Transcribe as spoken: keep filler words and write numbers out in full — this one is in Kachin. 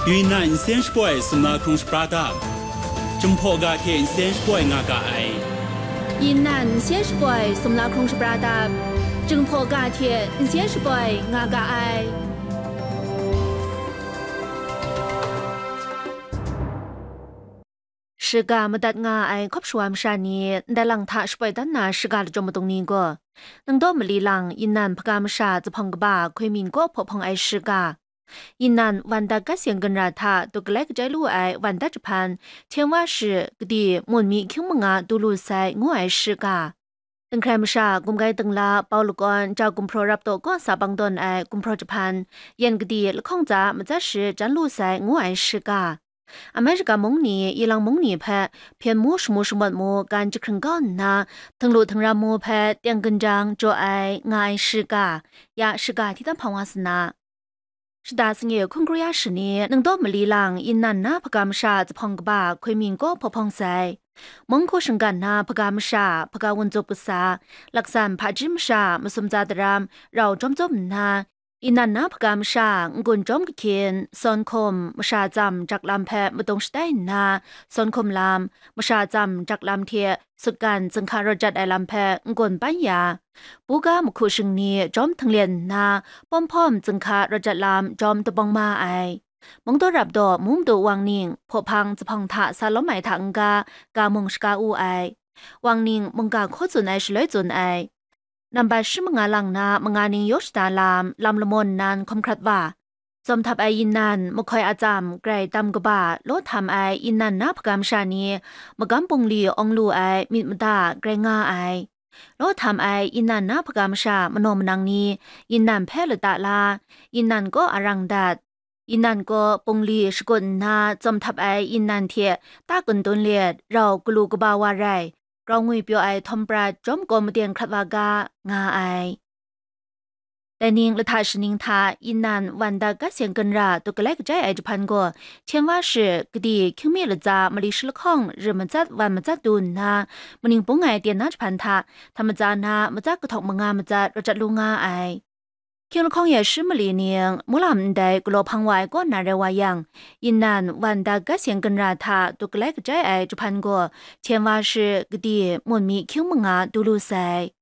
Yunnan nsen shapoi sumla hkrung shapra dap, Jinghpaw ga hte nsen shapoi nga ga ai. Yunnan nsen shapoi sumla hkrung shapra dap, Jinghpaw ga hte nsen shapoi nga ga ai. Shiga madat nga ai hkawp shawa masha ni ndai lang hta shapoi dan na shiga lachyum madung ni gaw, ningdaw mali lang Yunnan hpaga masha zuphpawng kaba Hkoi Min kaw hpaw hpawng ai shiga, Yunnan Wanda Gas Yen Gunra hta duk galai kajai lu ai Wanda jahpan, Chen Wa Shi, kadi, mun mi hkying manga du lu sai, ngu ai shiga, Dinghkrai masha, gumgai dingla, pau lakawn, jau gumhpraw rap taw kaw sa bang dawn ai gumhpraw jahpan, yan kadi lahkawng tsa matsat shi jan lu sai, ngu ai shiga, America mung ni, Ilang mung ni hpe hpyen mu shamu shamawt mu gan jahkring kau nna, htinglu htingram mu hpe teng ginjang jaw ai, nga ai shiga, ya shiga hti tam hpang wa sa na. Shada sangi hkun kru ya shani ningdaw mali lang Yunnan na hpaga masha zuphpawng kaba Hkoi Min kaw hpaw hpawng sai. Mung hku shinggan na hpaga masha, hpaga wunzup kasa, laksan hpaji masha, masum tsa daram, rau jawm jawm nna, Yunnan na hpaga masha n-gun jawm kahkyin, sawn hkum, masha tsam jak lam hpe madung shatai nna, sawn hkum lam, masha tsam jak lam hte sutgan zinghka rawt jat ai lam hpe n-gun pan ya, buga mahku shingni jawm htinglen nna, pawm hpawm zinghka rawt jat lam jawm tabawng ma ai. Mungdaw rap daw mu madu wang ning hpaw hpang zuphpawng hta sa lawm ai hta n-ga, ga mung shaga u ai. Wang ning mungga hkaw tsun ai shaloi tsun ai. Nambat shi manga lang na manga ning yaw shada lam, lam lamawn nan hkawm hkrat wa, tsawm htap ai Yunnan mahkoi atsam grai tam kaba, law htam ai Yunnan na hpaga masha ni magam bungli awng lu ai myit mada grai nga ai. Law htam ai Yunnan na hpaga masha manaw manang ni Yunnan hpe lata la, Yunnan kaw arang dat, Yunnan kaw bungli shakut nna tsawm htap ai Yunnan hte ta kantun let rau galu kaba wa rai, grau ngwi pyaw ai htawm prat jawm kaw maden hkrat wa ga, nga ai. Dai ning lahta shaning hta Yunnan Wanda Gas Yen Gunra duk galai kajai ai jahpan gaw, Chen Wa Shi, kadi, hkying mi latsa mali shi lahkawng rim matsat wan matsat du nna, maning bung ai tyen na jahpan hta, hta matsa na matsat kahtawk manga matsat rawt jat lu nga ai. Hkying lahkawng ya shi mali ning, mulam ndai galaw hpang wa ai kaw na rai wa yang, Yunnan Wanda Gas Yen Gunra hta duk galai kajai ai jahpan gaw, Chen Wa Shi, kadi, mun mi hkying manga du lu sai.